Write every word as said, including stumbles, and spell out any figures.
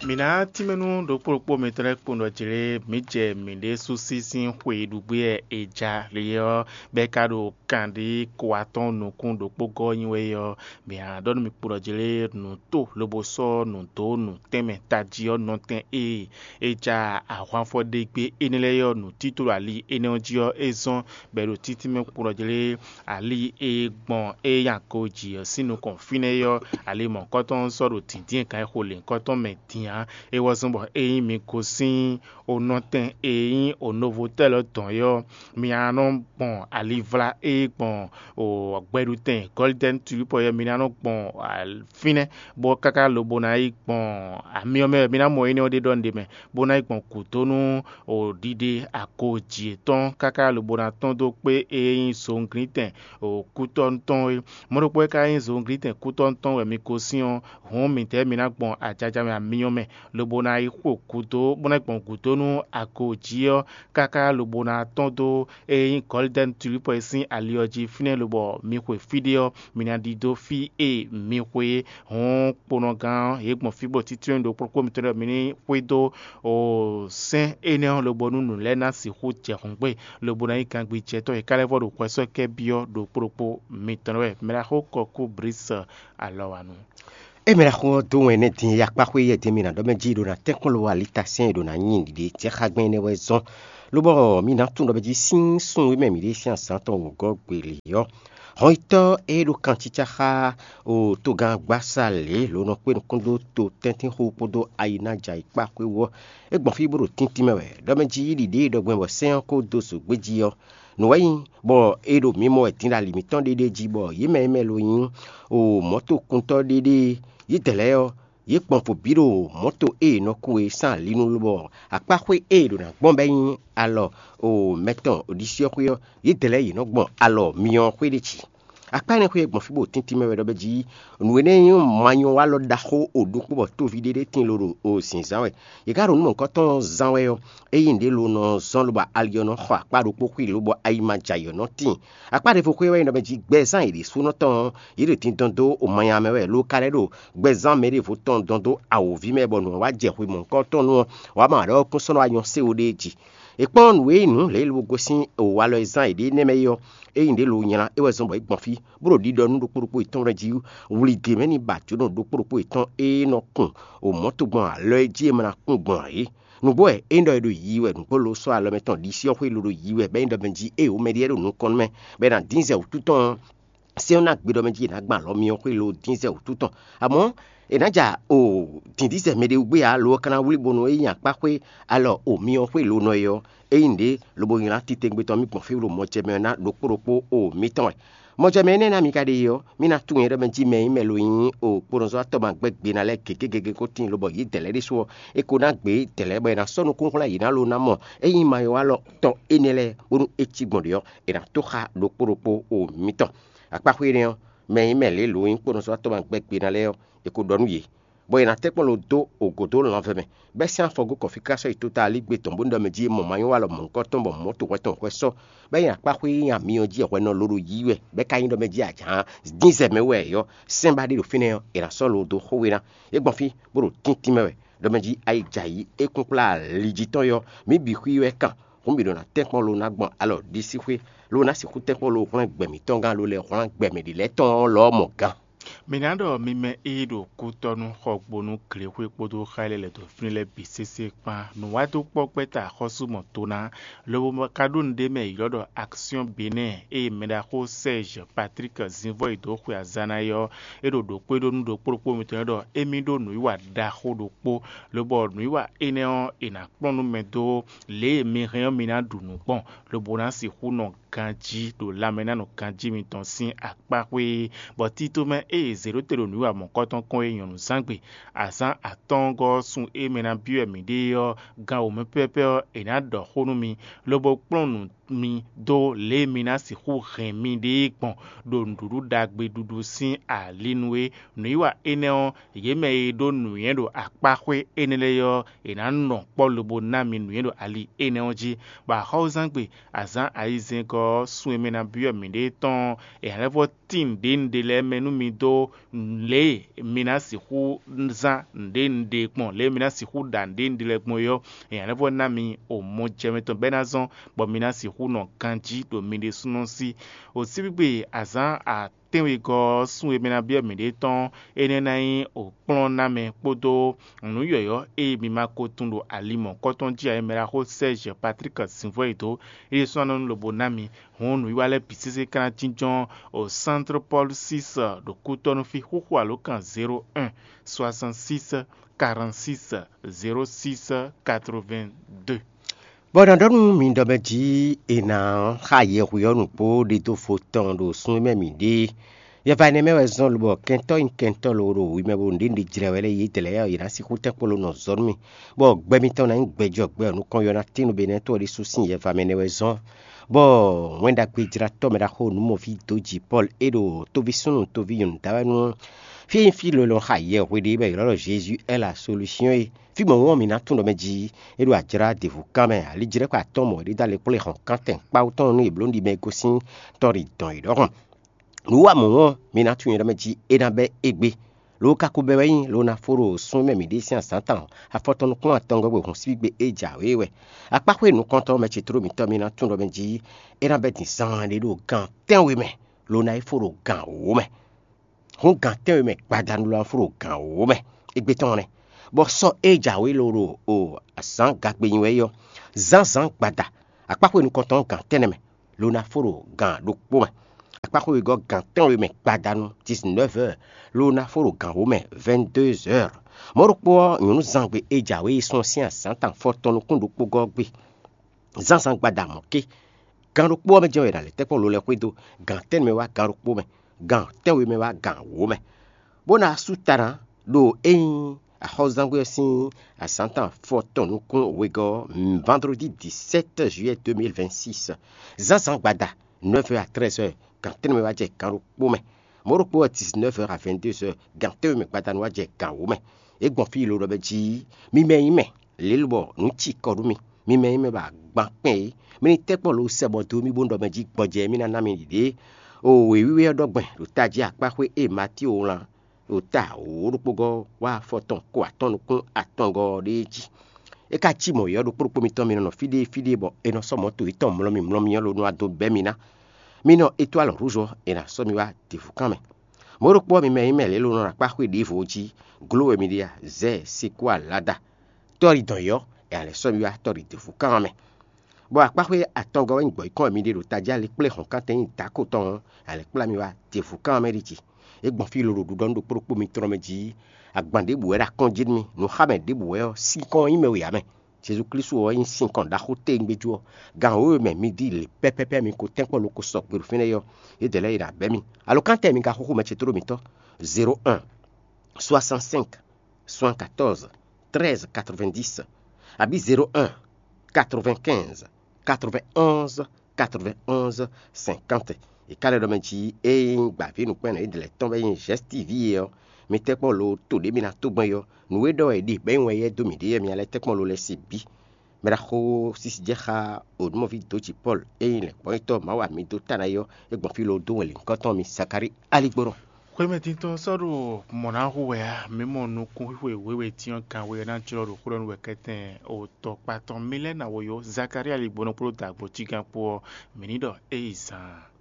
Mǐ ná tínmɛ nú ɖokpó ɖokpó mitɔn lɛ́ɛ kpowun ɖɔ jlé mǐ jɛ mǐɖée sú sí sín xwe e ɖu gbé wɛ è ja lě ɔ́, bɔ é ka ɖo kanɖí ko atɔ́ɔ́n nukún ɖokpó gɔ́ nyi wɛ ɔ́, mǐ ná ɖɔ nú mi kpo ɖɔ jlé nǔ to lobo sɔ́ nǔ dó nǔ tɛnmɛ tají ɔ́ nɔtɛn e è ja ahwanfɔ ɖe gbé énɛ́ lɛ́ɛ ɔ́, nǔtító ɖo ali énɛ́ ɔ́ jí ɔ́, é zɔ́n bɔ è ɖo títínmɛ kpo ɖɔ jlé ali e gbɔn é nyi agojí ɔ́ sín nukɔn fínɛ́ ɔ́, ali mɔ̌hunkɔtɔn sɔ́ ɖo dǐndín e kan e xo lěhunkɔtɔn mɛ din ǎ. É wɛ zɔ́n bɔ ényí mi gosín onɔtɛn e nyí onovotɛ́ lɔ dɔn é ɔ́, mi ná nɔ gbɔn alivlá e gbɔn gbɛɖutɛn Gɔlidɛ́ni Tulípɔ ɔ́, mi ná nɔ gbɔn fínɛ́, bó káká lobo ná yi gbɔn amyɔ mɛ wɛ mi ná mɔ énɛ́ ɔ́ ɖe ɖɔ nǔɖé mɛ, bó ná yi gbɔn gǔdo nú ɖiɖe agojí yětɔn káká lobo ná tɔ́n dó kpé e nyí zǒnglítɛn kútɔ́nu tɔn é. Mɔ̌ ɖokpó e ka nyí zǒnglítɛn kútɔ́nu tɔn wɛ mi gosín ɔ́, hǔn midɛɛ mi ná gbɔn ajaja mɛ amyɔ mɛ, lobo ná yi xo gǔdo, bó ná yi gbɔn gǔdo nú agojí ɔ́ káká lobo ná tɔ́n dó e nyí Gɔlidɛ́ni Tulípɔ e sín ali ɔ́ jí fínɛ́, lobɔ mi xwe fí ɖé ɔ́, mi ná ɖidó fí e mi xwe é. Hǔn kponɔgán ɔ́, yě gbɔn fí bɔ títí ɖo kplɔ́nkplɔ́n mitɔn ɖɔ mi ní xwedó sɛ́n énɛ́ ɔ́ lobo nú nǔ lɛ́ɛ ná sixú jɛ hǔn gbe, lobo ná nyí gangbijɛtɔ́ e ka lɛ́ vɔ ɖo hwɛsɔ́kɛ́ byɔ́ ɖokpó ɖokpó mitɔn wɛ. Mɛɖaxó Kɔkú Blísɛ alɔ wa nu. É mɛ ɖaxó ɔ́ dó wɛn nɛ́ din e akpáxwé yɛ din mi ná ɖɔ mɛ jí ɖo ná tɛ́nkpɔ́n lo alita sɛn e ɖo ná nyi ɖiɖe jɛ xá gbɛn énɛ́ wɛ zɔ́n, lobɔ mi ná tunwun ɖɔ mɛ jí sín sun e mɛ mǐ ɖe sín azǎn tɔn wǒgɔ́ gbeli ɔ́, hɔnyitɔ́ e ɖo kan cícá xá o togán gbásá lě lǒ nɔ kpé nukún dó to tɛ́ntínxu kpódó ayi ná jɛ ayǐkpáxwé wú ɔ́, é gbɔn fí bó ɖo tíntín mɛ wɛ. Ɖɔ mɛ jí yí ɖiɖě e ɖɔ gbɛn bɔ sɛ́n ɔ́ ko dó zǒgbé jí ɔ́, nǔ wɛ nyí, bɔ è ɖo mǐ mɔ wɛ din ɖo ali mǐtɔn ɖéɖée jí, bɔ yě mɛ e mɛ lo nyí o mɔ̌tokuntɔ́ ɖéɖée, yědɛɛ lɛ́ɛ ɔ́, yě gbɔn fo bǐ ɖo mɔ̌to e è nɔ kú e sín ali nu lobɔ akpáxwé e è ɖǒ ná gbɔn bɔ é nyí alɔ o mɛtɔn ɖisí ɔ́ xwé ɔ́, yědɛɛ lɛ́ɛ yě nɔ gbɔn alɔ myɔ ɔ́ xwé ɖé jí. Akpá énɛ́ xwé e gbɔn fí bó tíntín mɛ wɛ ɖɔ bɛ́ jí nǔ énɛ́ e nyí manyɔ́walɔ ɖaxó o ɖokpó bɔ tóví ɖé ɖé tíin ló ɖo o zǐnzán wɛ. Yě ká ɖo nǔ mɔ̌hunkɔtɔn zán wɛ ɔ́, ényí nǔɖé lo nɔ zɔ́n lobo ali ɔ́ nɔ xɔ akpá ɖokpó xwí lobɔ ayi ma jɛ ayǐ ɔ́ nɔ tíin. Akpá ɖěvo xwé wɛ nyí ɖɔ mɛ jí gbɛzán yě ɖésúnɔ tɔn ɔ́, yě ɖo din dɔn dó o manya mɛ wɛ, lo ka lɛ́ ɖo gbɛzán mɛ ɖěvo tɔn dɔn dó awǒvi mɛ bɔ nǔ ɔ́ wá jɛ xwe mɔ̌hunkɔtɔn nu ɔ́, wǎ ma ɖɔ kún sɔ́ nɔ wá nyɔ́ sé o ɖéé jí. È kpɔ́n nǔ e nyí nǔ lě e lobo gosín o walɔ e zán yěɖée nɛ́ mɛ é ɔ́, ényí ɖě lo nylá é wɛ zɔ́n bɔ é gbɔn fí, bó ɖo ɖiɖɔ nú ɖokpó ɖokpó yětɔn lɛ́ɛ jí wlí gěmɛ ní ba jǒnɔ ɖokpó ɖokpó yětɔn e nɔ kun o mɔ̌ tɔn gbɔn alɔ e jí è ma ná kun gbɔn ǎ é. Nǔgbó wɛ é ɖɔ è ɖo yiyi wɛ nǔgbó lo sɔ́ alɔ mɛ tɔn ɖisí ɔ́ xwé lo ɖo yiyi wɛ bɔ é nyí ɖɔ mɛ jí ée wǒ mɛɖé lɛ́ɛ ɖo nukɔn nú mɛ, bɔ è nǎ dín zɛ wǔtu tɔn ɔ́, sɛ́n ɔ́ ná gbe ɖɔ mɛ jí è nǎ gbɔn alɔ myɔ xwé lo dín zɛ wǔtu tɔn. Amɔ̌, è nǎ ja o dǐndín zɛ mɛɖé wú gbé ǎ, lo ɔ́ ka ná wlí bónú é nyi akpá xwé alɔ o myɔ xwé lo nɔ é ɔ́, é nyí nǔɖé lobo nylá titewungbe tɔn mì gbɔn fí ɖo mɔjɛmɛ ɔ́ ná ɖokpó ɖokpó o mǐtɔn wɛ. Mɔjɛmɛ énɛ́ ná mi ka ɖe é ɔ́, mì ná tunwun nyɛ ɖɔ mɛ jí mɛ e nyí mɛ lo nyí o kponɔzɔ́watɔ́ ma gbɛ́ gbe ná lɛ́ɛ gěgé gěgé ko tíin lobɔ yě dɛ̌ lɛ́ɛ ɖésú ɔ́, è ko ná gbě dɛ̌ lɛ́ɛ bɔ è nǎ sɔ́ nukúnxwlɛ́ yě ná lo ná mɔ ényí mayɔ́walɔ tɔn énɛ́ lɛ́ɛ bónú é cí gbɔn ɖě ɔ́, è nǎ tó xá ɖokpó ɖokpó o mǐtɔn. Akpáxwé énɛ́ ɔ́, mɛ e nyí mɛ lě lo nyí kponɔzɔ́watɔ́ ma gbɛ́ gbe ná lɛ́ɛ ɔ́, è ko ɖɔ nú yě, bɔ è nǎ tɛ́nkpɔ́n lo dó ògǒ dó lanvɛ mɛ, bɔ é sín afɔ gó kɔfíká sɔ́ yi tota alígbe tɔn bó ɖɔ mɛ jí mɔ manyɔ́walɔ mɔ̌hunkɔtɔn bɔ mɔ̌ to hwɛ tɔn hwɛ sɔ́, bɔ é nyi akpáxwé nyi amyɔ jí hwɛ nɔ ló ɖo yí wɛ, bɔ é ka nyí ɖɔ mɛ jí ajǎn dín zɛ mɛ wɛ ɔ́, sɛ́n ba ɖé ɖo fínɛ́ ɔ́, è nǎ sɔ́ lo dó xó we ná. É gbɔn fí, bó ɖo tíntín mɛ wɛ, ɖɔ mɛ jí ayi jɛ ayǐ é kún kplá ali jí tɔn ɔ́, mǐ bǐ xwí wɛ kan, hǔn mǐ ɖo ná tɛ́nkpɔ́n lo ná gbɔn alɔ ɖisíxwé, lo ná sixú tɛ́nkpɔ́n lo hwlɛ́n gbɛ mǐtɔn gán lo lɛ́ hwlɛ́n gbɛ mɛ ɖě lɛ́ɛ tɔn ɔ́ lɔ mɔ gán. Mi ná ɖɔ mi mɛ e ɖo kútɔ́ nú xɔgbónú glexwé kpódó xá e lɛ́ lɛ̌ dó fínɛ́ lɛ́ɛ bǐ sésé kpán. Nǔwádókpɔ́gbɛ́ta axɔ́sú mɔ to ná, lobo ma ka ɖó nǔɖé mɛ e ylɔ́ ɖɔ Action Benin ée mɛɖaxó Serge Patrick zǐnvɔ́ yi dó xwe azǎn ná é ɔ́, é ɖo ɖǒ kpé ɖó nú ɖokpó ɖokpó mitɔn lɛ́ɛ ɖɔ émí ɖó nǔwiwa ɖaxó ɖokpó, lobɔ nǔwiwa énɛ́ ɔ́, è nǎ kplɔ́n nú mɛ dó lě e mi hɛn ɔ́ mi ná ɖu nǔ gbɔn, lobo ná sixú nɔ ganjí ɖo lanmɛnánɔ ganjí mitɔn sín akpáxwé é, bɔ títomɛ ée zě ɖó te ɖo nǔwiwa mɔ̌kɔtɔn kɔn é nyɔ̌nuzángbe azǎn atɔ́ɔ́ngɔ́ ɔ́ sun e mɛ ná byɔ́ wɛ mǐ ɖe é ɔ́, gan wǒ mɛ pɛ́pɛ́ ɔ́, è nǎ ɖɔ xó nú mi, lobo kplɔ́n nǔ mi dó lě e mi ná sixú hɛn miɖée gbɔn ɖo nǔɖuɖu ɖagbe ɖuɖu sín ali nu é. Nǔwiwa énɛ́ ɔ́, yě mɛ e ɖó nǔnywɛ́ ɖo akpáxwé énɛ́ lɛ́ɛ ɔ́, è nǎ nɔ kpɔ́ lobo ná mi nǔnywɛ́ ɖo ali énɛ́ ɔ́ jí, bɔ axɔ́súzángbe azǎn ayizɛ́ngɔ́ ɔ́, sun e mɛ ná byɔ́ mǐɖée tɔn ɔ́, è nǎ lɛ́ vɔ́ tín nǔɖé nǔɖé lɛ́ɛ mɛ nú mi dó lě e mi ná sixú zán nǔɖé nǔɖé gbɔn, lě e mi ná sixú ɖa nǔɖé nǔɖé lɛ́ɛ gbɔn é ɔ́, è nǎ lɛ́ vɔ́ ná mi o mɔ jɛ mɛ tɔn bɔ é ná zɔ́n bɔ mi ná sixú nɔ ganjí ɖo mi ɖésúnɔ sí. Osígbígbe azǎn atɛ́nwegɔ́ ɔ́, sun e mɛ ná byɔ́ mǐɖée tɔn ɔ́, énɛ́ ná nyí òkplɔ́nnámɛ kpódó nǔ yɔ̌yɔ́ e mi ma ko tunwun ɖo ali mɔ̌kɔtɔn jí ǎ. Mɛ ɖaxó Sɛ́zhi Patlík Zǐnvɔ́yidó é ɖésú ná nɔ nú lobo ná mi. Hǔn nǔwiwa lɛ́ɛ bǐ sésé ka ná jínjɔ́n o Centre Paul six ɖo Kútɔ́nú fí, xúxú alǒkan zéro un, soixante six, quarante six, zéro six, quatre vingt deux. Bɔ nɔ ɖɔ nú mi ɖɔ mɛ jí è nǎ xa yɛhwe ɔ́ nǔgbó ɖidófo tɔn ɖo sun e mɛ mǐ ɖe é. Yɛva énɛ́ mɛ wɛ zɔ́n lobɔ kɛntɔ́ nyi kɛntɔ́ lo ɖo wi mɛ bo nǔɖé nǔɖé jlɛ́ wɛ lɛ́ɛ yědɛɛ lɛ́ɛ ɔ́, yě ná sixú tɛ́ kpo lo nɔ zɔ nú mì, bɔ gbɛ mitɔn ná nyí gbɛjɔ gbɛ ɔ́ nukɔn yɔ ná tín nú be nɛ́ tó ɔ́ ɖésú sín yɛva mɛ nɛ́ wɛ zɔ́n. Bɔ wɛn ɖagbe jlátɔ́ mɛ ɖaxó nǔmɔví dó jǐ Pɔ́lu é ɖo toví súnnu toví nyɔ̌nu da wɛ nú fí e nyí fí lɔlɔ xa yɛhwe ɖé bɔ è ylɔ́ ɖɔ Jezu ɛ́ la solúsyɔ́n é. Fí mɔ̌ ɔ́, mǐ ná tunwun ɖɔ mɛ jí é ɖo ajlá ɖěvo kán mɛ, ali jlɛ́kpa atɔ́ɔ́n mɔ̌ é ɖo alɛ kplé hɔn kántɛn kpawú tɔn nú è blǒ nú ɖi mɛ e gosín tɔ́ ɖi dɔn é ɖɔhun. Nǔ wa mɔ̌ ɔ́, mi ná tunwun nyi ɖɔ mɛ jí é ná bɛ́ égbé. Lo ka ko bɛ́ wɛ nyí, lo ná fó ɖo sún mɛ mǐɖée sín azǎn tɔn afɔtɔn nukún atɔngɔ́ gbe hǔn síbígbe é jǎwe wɛ. Akpáxwé nukɔntɔn mɛ ce tló mǐtɔn mi ná tunwun ɖɔ mɛ jí é ná bɛ́ din zaanɖé ɖo gan tɛ́nwe mɛ, lo ná yi fó ɖo gan wǒ mɛ. Hǔn gan tɛ́nwe mɛ gbadanu lo ná fó ɖo gan wǒ mɛ. Égbé tɔn nɛ́, bɔ sɔ́ é jǎwe lo ɖo o azǎn gagbe nyi wɛ é ɔ́, zǎnzǎn gbada akpáxwé nukɔntɔn ɔ́ gan tɛ́nnɛ mɛ, lo ná fó ɖo gan ɖokpó mɛ. Akpáxwé wegɔ́ gan tɛ́nwe mɛ gbadanu dix-neuf heures, lo ná fó ɖo gan wǒ mɛ vingt-deux heures. Mɔ̌ ɖokpó ɔ́, nyɔ̌nuzangbe é jǎwe yi sɔ́ sín azǎn tɔn afɔtɔn nukún ɖokpó gɔ́ gbe. Zǎnzǎn gbada mɔ̌ ké, gan ɖokpó ɔ́ mɛ jɛ́n wɛ è nǎ lɛ́ tɛ́nkpɔ́n lo lɛ́ɛ xwedó, gan tɛ́nnɛ mɛ wá gan ɖokpó mɛ, gan tɛ́nwe mɛ wá gan wǒ mɛ. Bó ná sú ta ná ɖo é nyí axɔ́zángbé ɔ́ sín azǎn tɔn afɔtɔn nukún wegɔ́ ɔ́, vandrodi dix-sept juillet deux mille vingt-six. Zǎnzǎn gbada neuf heures à treize heures, gan tɛ́nnɛ mɛ wá jɛ gan ɖokpó mɛ. Mɔ̌ ɖokpó ɔ́, dix-neuf heures à vingt-deux heures, gan tɛ́nwe mɛ gbadanu wá jɛ gan wǒ mɛ. É gbɔn fí lo ɖɔ mɛ jí, mi mɛ nyí mɛ, lě lobɔ nǔ ci kɔ nú mi. Mi mɛ nyí mɛ bɔ agban kpɛn é. Mi ní tɛ́ kpɔ́ lo sɛ bɔ dó mì bó ɖɔ mɛ jí gbɔjɛ́ mì ná ná mi ɖiɖě. O wěwíwé ɔ́ ɖɔ gbɛn ɖo tají akpáxwé e Matío wlán ɖo ta wǒ ɖokpó gɔ́ wá afɔ tɔn ko atɔ́n nukún atɔngɔ́ ɔ́ ɖéé jí. É ka cí mɔ̌ yɔ́ ɖokpó ɖokpó mitɔn mi nɔ nɔ fí ɖé fí ɖé bɔ è nɔ sɔ́ mɔ̌ to yětɔn mlɔ́mì mlɔ́mì ɔ́ lo nɔ wá dó bɛ́ mi ná. Mi nɔ etwál rúzɔ è nǎ sɔ́ mi wá dǐvúkan mɛ. Mɔ̌ ɖokpó ɔ́, mi mɛ nyí mɛ lě lo nɔ ɖo akpáxwé ɖěvo jí, gló wɛ mi ɖe a, zɛ, sekú alada. Tɔ́ ɖi dɔn yɔ́, è a lɛ̌ sɔ́ mi wá tɔ́ ɖi dǐvúkan ɔ́ mɛ. Bɔ akpáxwé atɔngɔ́ wɛ nyí gbɔ̌yǐkɔn wɛ mi ɖe ɖo tají alekplé hɔn kántɛn nyi dǎko tɔn ɔ́, a lɛ̌ kplá mi wá dǐvúkan ɔ́ mɛ ɖi jǐ. É gbɔn fí lolo ɖuɖɔ nú ɖokpó ɖokpó mitɔn mɛ jí, agban ɖěbǔ wɛ ɖo akɔ́n jí nú mi, nǔxámɛ ɖěbǔ wɛ ɔ́, sinkɔn ɔ́ nyí mɛ wěyá mɛ. Jezu Klísu ɔ́ nyí sinkɔn ɖaxó téwúngbéjú ɔ́. Gan wěwe mɛ mi ɖi lě pɛ́pɛ́pɛ́ mi ko tɛ́nkpɔ́n lo ko sɔgbe ɖo fínɛ́ ɔ́, yědɛɛ lɛ́ɛ yi ɖo abɛ̌ mi. Alo kántɛn mi ka xúxú mɛ ce tlóló mǐtɔn zéro un, soixante-cinq, soixante-quatorze, treize quatre-vingt-dix, abǐ zéro un, quatre-vingt-quinze, quatre-vingt-onze, quatre-vingt-onze, cinquante. È ka lɛ́ ɖɔ mɛ jí ée nyí gbǎví nǔkpɛ́nnɔ Ídlɛ̌ tɔn wɛ nyí Zɛ̌stíví é ɔ́, mi tɛ́nkpɔ́n lo to ɖě mi ná tó gbɔn é ɔ́, nǔ e ɖɔ wɛ è ɖe bɛ̌ nyi wɛ éyɛ́ dó mǐɖée ɔ́, mi ná lɛ́ tɛ́nkpɔ́n lo lɛ́ɛ se bǐ. Mɛ ɖaxó sisijɛ́ xá Onúmɔví dǒ jǐ Pɔ́lu e nyí lɛ̌ngbɔ́nyitɔ́ Mawu ami dó ta ná é ɔ́, é gbɔn fí lo dó wɛn lǐnkɔ́n tɔn mì Zakalíi aligbɔnɔ. Xwémɛtíntɔ́ sɔ́ ɖo mɔ̌ ná hu wɛ ǎ, mǐ mɔ nukúnxwixwe wěwe cyɔ́n kanwe ɔ́ ná jlɔ́ ɖo xwlɔ́ nú wɛ kɛ́tɛn otɔkpa tɔn Milɛ́na woyó Zakalíi aligbɔnɔ kpódó dǎgbɔ́ cígán kpó ɔ́, mǐ ní ɖɔ é yi zaan.